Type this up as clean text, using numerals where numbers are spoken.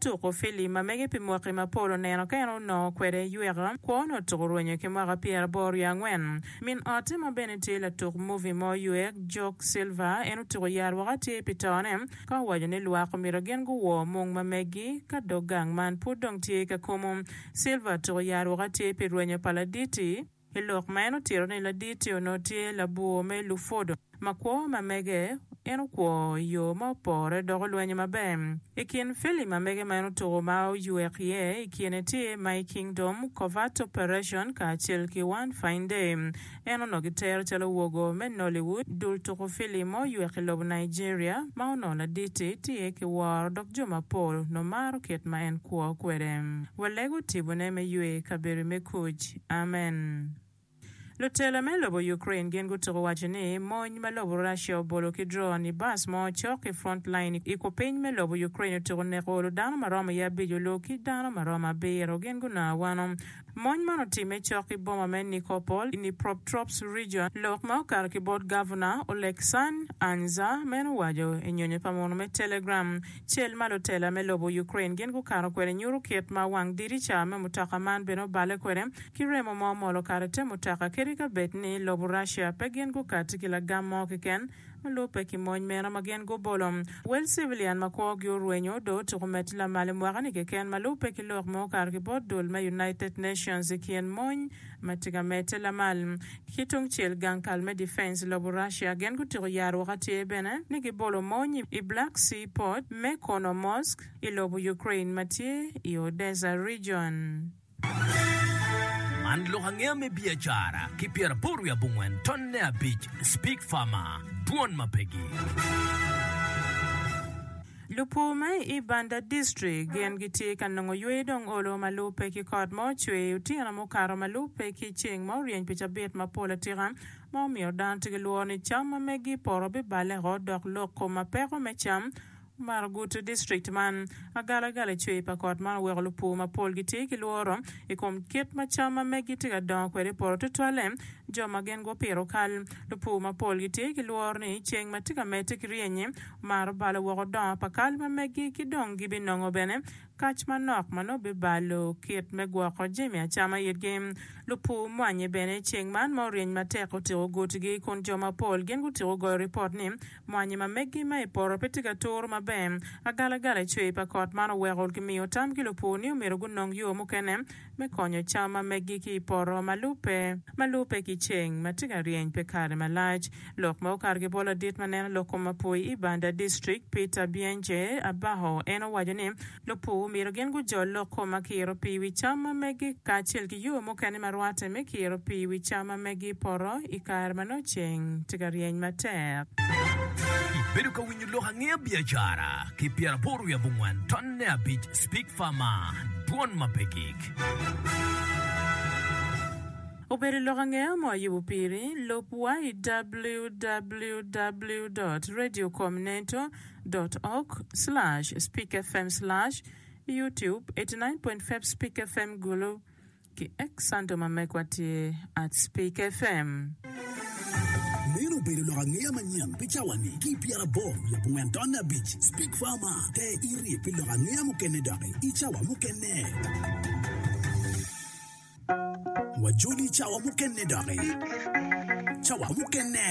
tuko filim ma mege pi mwaki mapol oneno ka en onongo kwede yweka kwone otuko rwenyo ki mwaka pyeraboro wiye angwen. Min otte ma bene tye latuk movie mo ywek, Joke Silva, en otuko yar woko atir pi tone ka owaco ni lwak omyero gin guwor mung ma meggi ka dog gang man pud dong tye ka kumu. Silva otuko yar woko atir pi rwenyo pa laditi. I lok ma en otito ni ladit-ti onongo tye labwor me lupwodo ma kwo ma mege, en okwo i yo ma opore dok olwenyo maber. I kin filim ma mege ma en otuko ma oywek iye i kine tye My Kingdom, Covert Operation kacel ki One Fine Day. En onongo kitero calo wogo me Nollywood, dul tuko filim ma oywek i lobo Nigeria ma onongo ladit-ti tye ki woro dok jo mapol onongo maro kit ma en kwo kwede. Walego tibone me ywe i kabedo me kuc. Amen. Lutela me lobo Ukraine gin gutuko waco ni mony ma lobo Russia obolo ki drone i bus mo cok ki front line i kupiny me lobo Ukraine otuko neko olo dano ma romo i abic olu ki dano ma romo abiro gin gunongo awano. Mony man otimme cok ki boma me Nikopol i Dnipropetrovsk region. Lok ma okato ki bot Gavuna Oleksandr Anza meno owaco i nyonyo pa muno me Telegram. Cel ma lutela me lobo Ukraine gin gukato kwede nyuto kit ma wang dirica me mutoka man bene oballe kwede ki remo ma omol okato i te mutoka kadi ka bed ni lobo Russia pe gin gukatti ki lagam mo keken ma lubbe ki mony meno ma gin gubolo. Wel civilian ma kwogi orwenyo dong otuko medde lamal i mwaka-ni keken ma lubbe ki lok ma okato ki bot dul me United Nations i kin mony ma tye ka medde lamal. Ki tungcel, gang kal me Defense i lobo Russia gin gutiko yaro woko atir bene ni gibolo mony i Black Sea Port me Chornomorsk i lobo Ukraine ma tye i Odesa Region. Man lok angeya me biacara ki pyeraboro wiye abongwen tonne abic Speak Farmer, Dwon ma pegi. Lupur ma i Ibanda District gin gitye ka nongo yweyo dong olo ma lubbe ki kot ma ocwer otyeno mukato ma lubbe ki ceng ma oryeny pi cabit mapol atika ma omiyo dano tye ki lworo ni cam ma megi i poto biballe oko dok lok kom ma peko me cam omaro guto district man. Agalagala i cwer pa kot man oweko lupur mapol gitye ki lworo i kom kit ma cam ma megi tye ka dongo kwede i poto tutwalle jo ma gin gupito kal. Lupur mapol gitye ki lworo ni ceng ma tye ka medde ki ryenyi Maro balo woko dongo pa kal ma megi ki dong gibinongo bene kac manok ma nongo bibalo kit me gwoko jami acama itgi. Lupur mwanyi bene ceng man ma oryeny matek otiko gutgi kun jo mapol gin gutiko goyo ripot ni mwanyi ma megi ma i poto pe tye ka turu maber. Agalagala i cwer pa kot man oweko kimiyo tam ki lupur ni omyero gunong yo mukene me konyo cam ma meggi ki i poto ma lubbe ma lubbe ki ceng ma tye ka ryeny pi kare malac. Lok ma okato ki bot ladit ma neno lok kom apoi i Banda District, Peter Bienje Abaho en owaco ni lupur myero gin gujol lok kom ma kiro pii i wi cam ma meggi kacel ki yo mukene ma rwatte me kiro pii i wi cam ma meggi i poto i kare ma nongo ceng tye ka ryeny matek. Ibedo ka winyo lok angeya biacara ki pyeraboro wiye abongwen tonne abic Speak Farmer, Dwon ma pe gik. Obedo lok angeya mo ayubo piri, lub wa i www dot radiocomneto dot org slash speakfm slash youtube 89.5 speakfm Gulu. Ki X anto ma megwa tye at Speak FM. Meno obedo lok angeya manyen pi cawa-ni ki i pyeraboro wiye abongwen tonne abic. Speak Farmer, Ter iti pi lok angeya mukene doki i cawa mukene. Wajoli i cawa mukene doki. Cawa mukene.